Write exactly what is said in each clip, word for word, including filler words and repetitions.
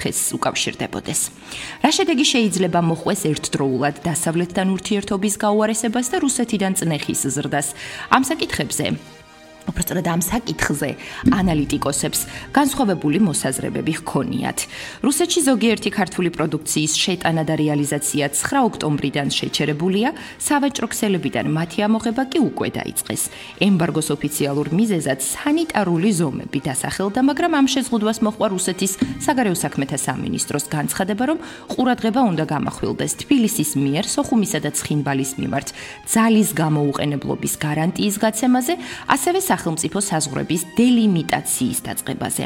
ხეს უკავშირდებოდეს. რა შედეგი შეიძლება მოხვეს ერთდროულად დასავლეთთან ურთიერთობის გაუარესებას და რუსეთიდან წნეხის ზრდას? ამ საკითხებზე უბრალოდ ამ საკითხზე ანალიტიკოსებს განსხვავებული მოსაზრებები ჰქონიათ. რუსეთში ზოგიერთი ქართული პროდუქციის შეტანა და რეალიზაცია ცხრა ოქტომბრიდან შეჩერებულია, სავაჭრო ქსელებიდან მათი ამოღება კი უკვე დაიწყეს. ემბარგოს ოფიციალურ მიზეზად სანიტარული ზომები დასახელდა, მაგრამ ამ შეზღუდვას მოჰყვა რუსეთის საგარეო საქმეთა სამინისტროს განცხადება, რომ ყურადღება უნდა გამახვილდეს თბილისის მიერ სოხუმისა და ცხინვალის მიმართ ძალის გამოუყენებლობის გარანტიის გაცემაზე, ასევე სახელმწიფო საზღვრების დელიმიტაციის დაწყებაზე.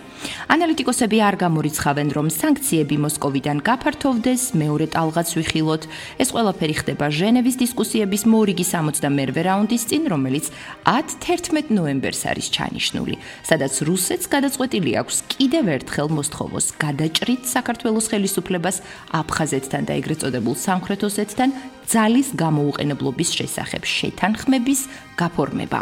ანალიტიკოსები არ გამორიცხავენ, რომ სანქციები მოსკოვიდან გაფართოვდეს, მეორე ტალღაც ვიხილოთ. ეს ყველაფერი ხდება ჟენევის დისკუსიების მორიგი სამოცდამერვე რაუნდის წინ, რომელიც ათი ნოემბერს არის ჩანიშნული, სადაც რუსეთს გადაწყვეტილი აქვს კიდევ ერთხელ მოსთხოვოს გადაჭრით საქართველოს ხელისუფლებას აფხაზეთთან და ეგრეთ წოდებულ სამხრეთ ოსეთთან ძალის გამოუყენებლობის შესახებ შეთანხმების გაფორმება.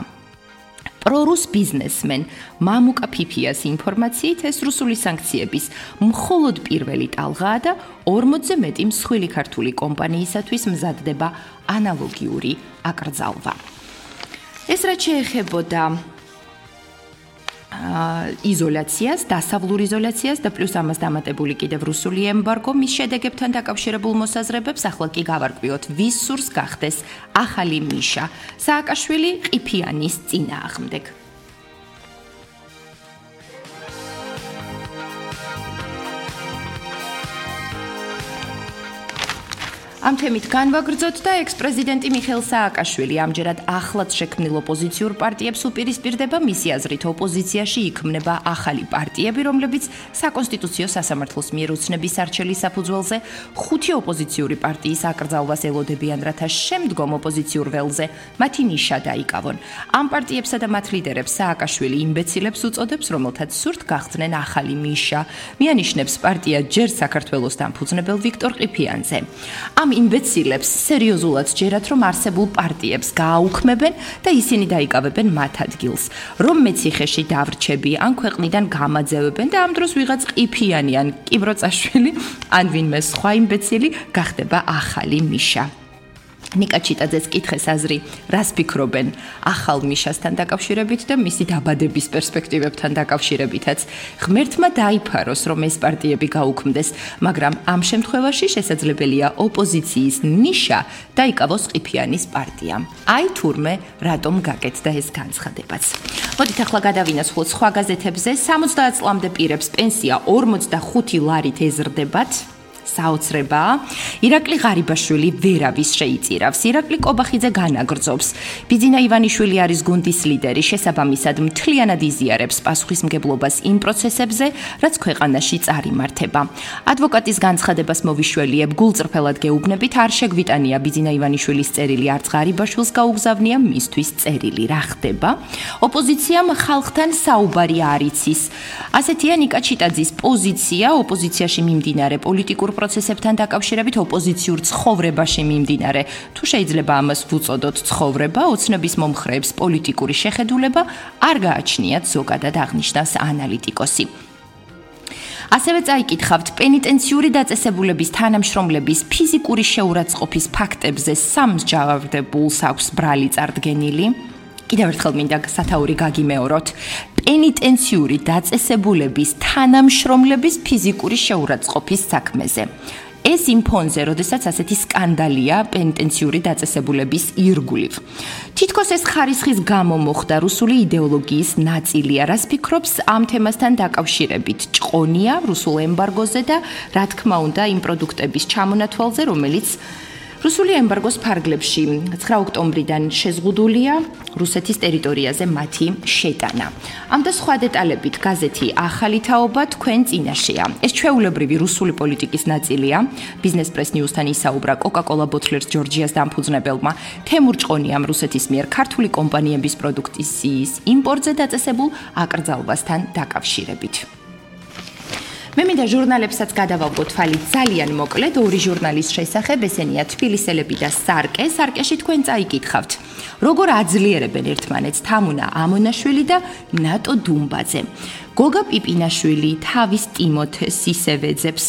პრორუს ბიზნესმენ მამუკა ფიფიას ინფორმაციით ეს რუსული სანქციების მხოლოდ პირველი ტალღაა და ორმოცზე მეტი მსხვილი ქართული კომპანიისათვის მზადდება ანალოგიური აკრძალვა. ეს რაც შეეხებოდა იზოლაციას, დასავლურ იზოლაციას და პლუს ამას დამატებული კიდევ რუსული ემბარგო მის შედეგებთან დაკავშირებულ მოსაზრებებს, ახლა კი გავარკვიოთ, ვის სურს გახდეს ახალი მიშა სააკაშვილი ყიფიანის წინააღმდეგ. ამ თემით განვაგრძოთ და ექს-პრეზიდენტი მიხეილ სააკაშვილი ამჯერად ახლად შექმნილ ოპოზიციურ პარტიებს უპირისპირდება, მისი აზრით ოპოზიციაში იქმნება ახალი პარტიები, რომლებიც საკონსტიტუციო სასამართლოს მიერ უცნების არჩელის საფუძველზე ხუთი ოპოზიციური პარტიის აკრძალვას ელოდებიან, რათა შემდგომ ოპოზიციურ ველზე მათი ნიშა დაიკავონ. ამ პარტიებსა და მათ ლიდერებს სააკაშვილი იმბეცილებს უწოდებს, რომელთაც სურთ გახსნენ ახალი მიშა. მიანიშნებს პარტია ჯერ საქართველოს დამფუძნებელ ვიქტორ ყიფიანზე. ამ იმბეცილებს სერიოზულად ჯერათ, რომ არსებულ პარტიებს გააუქმებენ და ისინი დაიკავებენ მათ ადგილს. რომ მეციხეში დავრჩები, ან ქვეყნიდან გამაძევებენ და ამ დროს ვიღაც ყიფიანი ან კიბროწაშვილი, ან ვინმე სხვა იმბეცილი გახდება ახალი მიშა. ნიკა ჩიტაძეს კითხეს აზრი, რას ფიქრობენ ახალ მიშასთან დაკავშირებით და მისი დაბადების პერსპექტივებთან დაკავშირებითაც. ღმერთმა დაიფაროს, რომ ეს პარტიები გაუქმდეს, მაგრამ ამ შემთხვევაში შესაძლებელია ოპოზიციის ნიშა დაიკავოს ყიფიანის პარტიამ. აი თურმე რატომ გაკეთდა ეს განცხადებაც. მოდით ახლა გადავინაცვლოთ სხვა გაზეთებზე. სამოცდაათ წლამდე პირებს პენსია ორმოცდახუთი ლარით ეზრდებათ. საოცრებაა. ირაკლი ღარიბაშვილი ვერავის შეიწირავს. ირაკლი კობახიძე განაგრძობს. ბიძინა ივანიშვილი არის გუნდის ლიდერი, შესაბამისად მთლიანად იზიარებს პასუხისმგებლობას იმ პროცესებზე, რაც ქვეყანაში წარიმართება. ადვოკატის განცხადებას მოვიშველიებ, გულწრფელად გეუბნებით, არ შეგვიტანია ბიძინა ივანიშვილის წერილი, არც ღარიბაშვილს გაუგზავნია მისთვის წერილი. რა ხდება? ოპოზიციამ ხალხთან საუბარი არ იცის. ასეთია ნიკა ჩიტაძის პოზიცია ოპოზიციაში მიმდინარე პოლიტიკურ პროცესებთან დაკავშირებით ოპოზიციურ ცხოვრებაში მიმდინარე. თუ შეიძლება ამას ვუწოდოთ ცხოვრება, ოცნების მომხრეებს პოლიტიკური შეხედულება არ გააჩნიათ, ზოგადად აღნიშნავს ანალიტიკოსი. ასევე წაიკითხავთ პენიტენციური დაწესებულების თანამშრომლების ფიზიკური შეურაცხყოფის ფაქტებზე სამსჯავრდებულს აქვს ბრალი წარდგენილი. კიდევ ერთხელ მინდა სათაური გაგიმეოროთ. პენიტენციური დაწესებულების თანამშრომლების ფიზიკური შეურაცხყოფის საქმეზე. ეს იმ ფონზე, როდესაც ასეთი სკანდალია პენიტენციური დაწესებულების ირგვლივ. თითქოს ეს ხარისხის გამო მოხდა რუსული იდეოლოგიის ნაწილია, რას ფიქრობს ამ თემასთან დაკავშირებით. ჭყონია რუსულ ემბარგოზე და რა თქმა უნდა იმ პროდუქტების ჩამონათვალზე, რომელიც რუსული ემბარგოს ფარგლებში ცხრა ოქტომბრიდან შეზღუდულია რუსეთის ტერიტორიაზე მათი შეტანა. ამ და სხვა დეტალებით გაზეთი ახალი თაობა თქვენ წინაშეა. ეს ჩვეულებრივი რუსული პოლიტიკის ნაწილია. ბიზნეს პრეს ნიუსთან ისაუბრა კოკა-კოლა ბოთლერს ჯორჯიას დამფუძნებელმა თემურ ჭყონიამ რუსეთის მიერ ქართული კომპანიების პროდუქციის იმპორტზე დაწესებულ აკრძალვასთან დაკავშირებით. მე მინდა ჟურნალებსაც გადავავგო თვალი ძალიან მოკლედ ორი ჟურნალის შესახებ, ესენია თბილისელები და სარკე. სარკეში თქვენ წაიკითხავთ, როგორ აძლიერებენ ერთმანეთს თამუნა ამონაშვილი და ნატო დუმბაძე. გოგა პიპინაშვილი თავის ტიმოთე სისევეძებს